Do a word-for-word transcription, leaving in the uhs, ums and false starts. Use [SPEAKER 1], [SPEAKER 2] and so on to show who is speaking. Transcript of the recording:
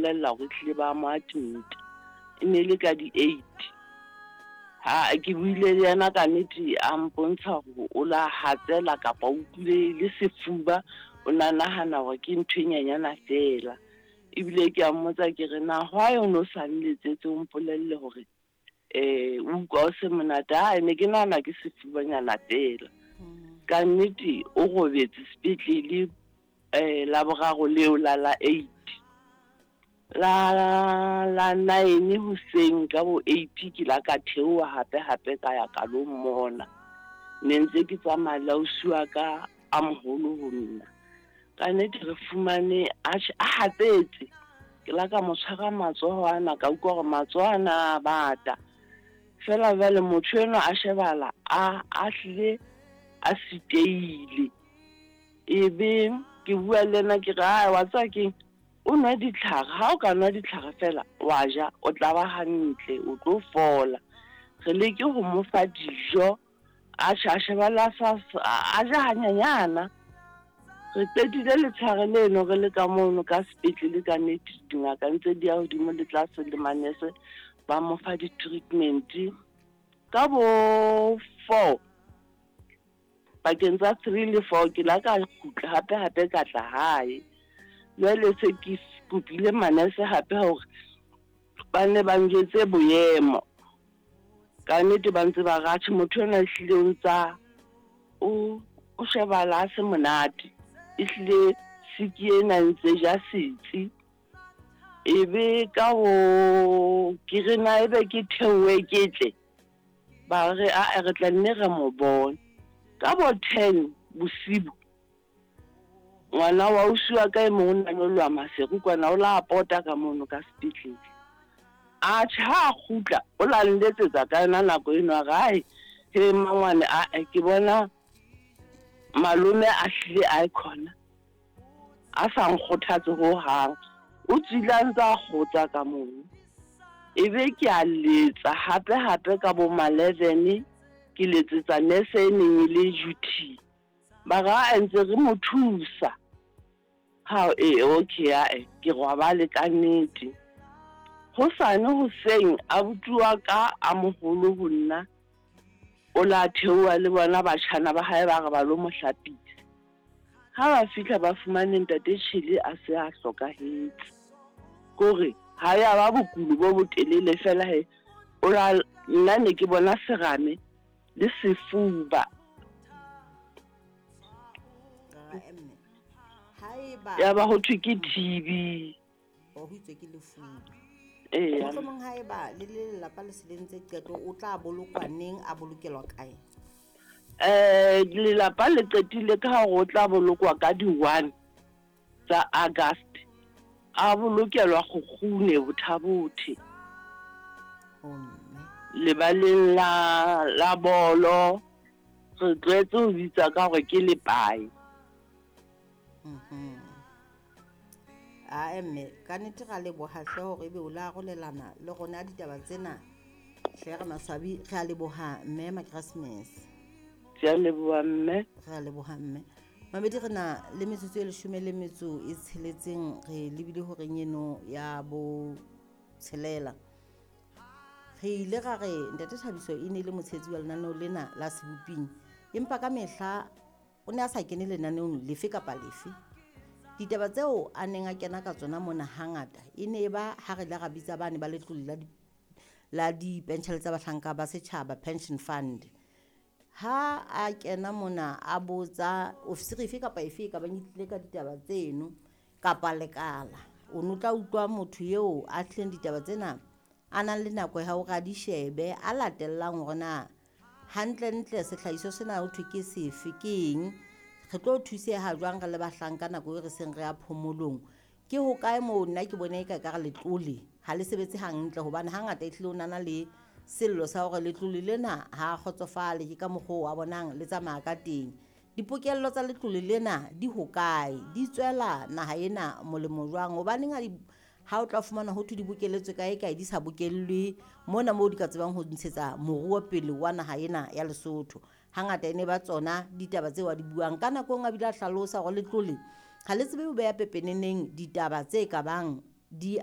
[SPEAKER 1] mpolella hore ehlile ba mo admit-a. E ne le ka di-eight. Ha ke buile le yena ka nnete a mpontsha hore o la hatsela kapa o utlwile le sefuba, o na nahana hore ke ntho e nyenyana fela. Ebile ke a mmotsa ke re na why o no sa nletsetse o mpolelle hore eh o utlwa o se monate? Ha ne ke nahana ke sefubanyana fela. Ka nnete o robetse sepetlele eh Laboraro leo la la eight. La la nine hoseng ka bo eight ke la ka theoha hape hape ka ya ka lo mmona. Ne ntse ke tsamaya le ausi wa ka a moholo ho nna. Ka nnete re fumane a a hatsetse. Ke la ka mo tshwara matsoho ana ka utlwa hore matsoho ana a bata. Feela jwale motho enwa a shebahala a a hlile a sitehile. Ebe ke bua le yena ke re, "Ae wa tseba keng? O nwe ditlhare, ha o ka nwa ditlhare fela wa ja, o tla ba hantle, o tlo fola." Re leke ho mo fa dijo, atjhe a shebahala a sa a ja hanyenyana. Re qetile letshehare leno re le ka mono ka sepetlele ka nnete dingaka ntse di ya hodimo le tlase le manese ba mo fa di-treatment. Ka bo four, pakeng tsa three le four ke la ka kgutla hape hape ka tla hae. Jwale se ke kopile manese hape hore ba nne ba njwetse boemo. Ka nnete ba ntse ba re atjhe motho enwa ehlile o ntsa o o shebahala a se monate. Ehlile siki ena e ntse ja setsi. Ebe ka ho ke re na ebe ke theohe ke tle, ba re ae re tla nne re mo bone. Ka bo ten bosibu, ngwana wa ausi wa ka e mong o na nyoloha Maseru kwana o la pota ka mono ka sepetlele. Atjhe ha a kgutla o la nletsetsa ka yona nako eno a re, "Ae he mmangwane ae ke bona malome a hlile ae khona a sa nkgothatse hohang." O tswile a ntse a kgotsa ka mono. Ebe ke a letsa hape hape ka bo ma eleven ke letsetsa nurse e neng e le duty. Ba re ae ntse re mo thusa. Ha e okay ae ke robale ka nnete. Hosane hoseng abuti wa ka a moholo ho nna o la theoha le bona batjhana ba hae ba re ba lo mo hlapisa. Ha ba fihla ba fumane ntate Tjhele a se a hlokahetse. Kore ha ya ba bokulo bo botelele fela he o la nna ne ke bona serame le sefuba.
[SPEAKER 2] Ae mme haeba
[SPEAKER 1] Ya ba ho thwe ke T B.
[SPEAKER 2] O ho itswe ke lefuba.
[SPEAKER 1] Eya.
[SPEAKER 2] Mohlomong haeba le le lelapa le se le ntse qeto, o tla bolokwa neng, a bolokelwa kae?
[SPEAKER 1] Eh lelapa le qetile ka hore o tla bolokwa ka di-one tsa August. A bolokelwa Kgukgune Botha-Bothe.
[SPEAKER 2] O mme.
[SPEAKER 1] Lebaleng la la bolo re tlwaetse ho bitsa ka hore ke lepae.
[SPEAKER 2] Mhm. Ae mme, ka nnete ra leboha hle hore ebe o la arolelana le rona ditaba tsena. Hle re maswabi, re a leboha mme Makeresmese.
[SPEAKER 1] Ke a leboha mme.
[SPEAKER 2] Re a leboha mme. Mamedi, re na le metsotso e leshome le metso e tsheletseng re lebile horeng eno ya bo tshelela. Re ile ra re ntate Thabiso e ne le motshehetsi wa lenaneo lena la Seboping, empa ka mehla o ne a sa kene lenaneong lefe kapa lefe. Ditaba tseo a neng a kena ka tsona mona hangata e ne e ba ha re ile ra bitsa bane ba letlole la di la dipenshele tsa bahlanka ba setjhaba, pension fund. Ha a kena mona a botsa ofisiri efe kapa efe e ka bang e tlile ka ditaba tseno kapa lekala, o no tla utlwa motho eo a tlileng ditaba tsena a nang le nako ya hore a di shebe, a latellang hore na hantlentle sehlahiswa sena ho thwe ke sefe, ke eng, re tlo thuseha jwang re le bahlanka nako e re seng re ya phomolong, ke hokae moo nna ke bone eka ekare letlole ha le sebetse hantle, hobane hangata ehlile o nana le sello sa hore letlole lena ha a kgotsofale ke ka mokgwa oo a bonang le tsamaya ka teng. Dipokello tsa letlole lena di hokae, di tswela naha ena molemo jwang, hobaneng ha di ha o tla fumana ho thwe di bokeletswe kae kae, di sa bokellwe mona moo di ka tsebang ho ntshetsa moruo pele wa naha ena ya Lesotho. Hangata e ne ba tsona ditaba tseo a di buang ka nako e nngwe, a bile a hlalosa hore letlole ha le tsebe ho beha pepeneneng ditaba tse kabang di